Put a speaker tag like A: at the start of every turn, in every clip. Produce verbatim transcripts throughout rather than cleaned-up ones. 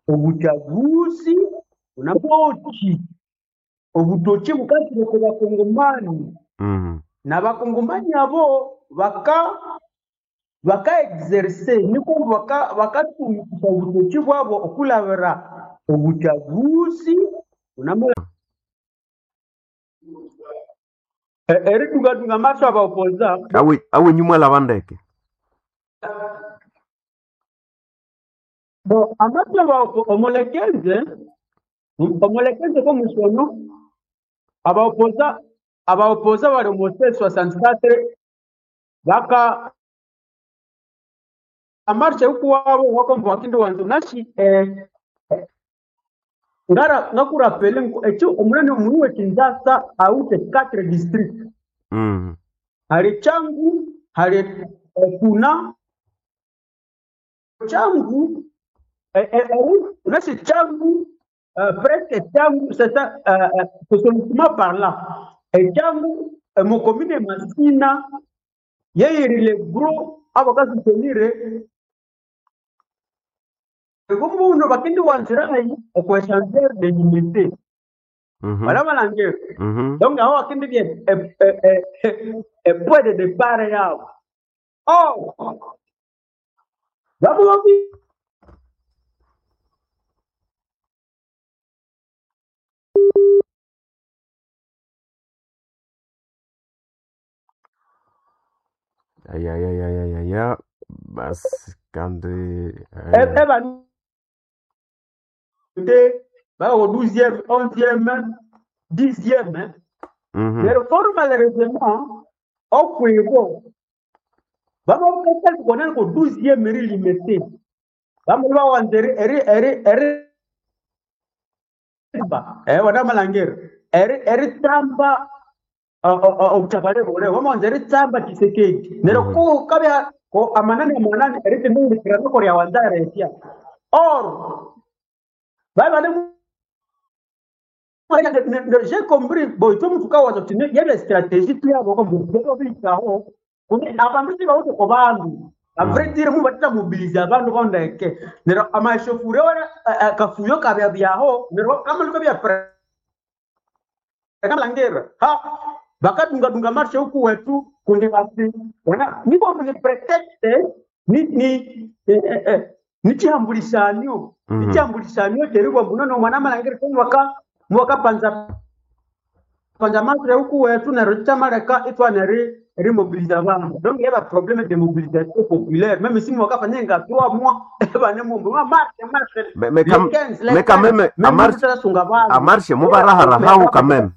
A: Obuchaguzi bunamoki obutoki bukasire ku bakongomani
B: Mhm.
A: n'abakongomani abo baka baka exercer niko baka bakatumikisa obutoki bwabo okulabira obuchaguzi bunamo E- eridungadunga amaso abaopoza
B: Awe awe nyuma la bandeke.
A: Bo amaso abaopo omulekenze omulekenze komusono abaopoza abaopoza bali omu soixante-quatre baka amarshe ukuwabo wakomba wakindi wanzu nashi eh, eh, ngara ngakurapele ekyo omunene omunu w'ekinzasa awithe quatre district
B: Mhm.
A: hali Changu hali eh, kuna Changu eh, eh, eh, nasi Changu euh, presque Changu c'est ça euh, euh, sociologiquement parlant et Changu eh, mu commune Masina yeyirile gros abakasutenire ekubuno bakindi wanzirayi okwechanzer de unité
B: Mhm.
A: bala balangere
B: Mhm.
A: donc aho bakindi bye e point de départ yabo oh babo babi
B: Ay ay ay ay ay ay. ay. Bas kandi eh.
A: eba de ba au douzième onzième dixième
B: Mhm.
A: mais fort malheureusement okwebo baba bakali kona ko douzième ri limité bamwe bawanze eri eri eri eri eh wana malangeri eri eri tamba obutabale bule bamanze eri tamba Tshisekedi nero
B: Mhm.
A: ko kabya ko amanani amanani eri tindikira ko rya wanzara etia or baba ne j'ai compris bon itwe mutuka wazo tine yebe stratégie tu yabo ko mbuko bikaho kune abantu sibawuti ko bandu a vrai
B: Mhm.
A: dire mu batita mobiliser abantu kondeke nero amashofure ora kafuyo kabya byaho nero kamaluka bya kamalangera ha bakadungadunga marshe huku wetu kundi basi wana niko ni prétexte ni ni eh, eh, eh, nichihambulisanyo
B: Mhm.
A: nichihambulisanyo cheribwa mbunono mwana malangera ko mwaka mwaka panza panza marshe huku wetu nero chamaleka itwana ri rimobiliza bantu donc il y a problème de mobilisation populaire même si mwaka fanya trois mois bane mumbu marche marche
B: Mais mais
A: le
B: quand
A: quinze le
B: mais quand
A: quinze
B: même a
A: même
B: marche
A: mutarasunga
B: a
A: bantu
B: marche mubarahara hao quand même.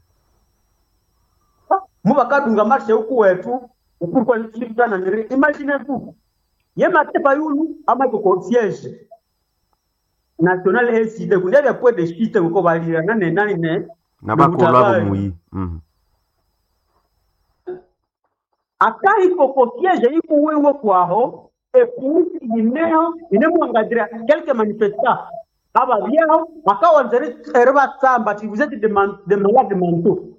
A: mubakadunga marshe huku wetu ukurikwanana niri imagine vous ye matepa yulu amako ko siège national E C D kundi abya point de chute kuko balira nane nane ne
B: Nabakolo abo
A: nobutabali
B: muyi. Mhm.
A: akahiko ko siège ikuwiwe kwaho epusi ineho inemwangadira quelques manifestants ababyaho bakawanza eri batsamba ati vous êtes des man- des malades mentaux.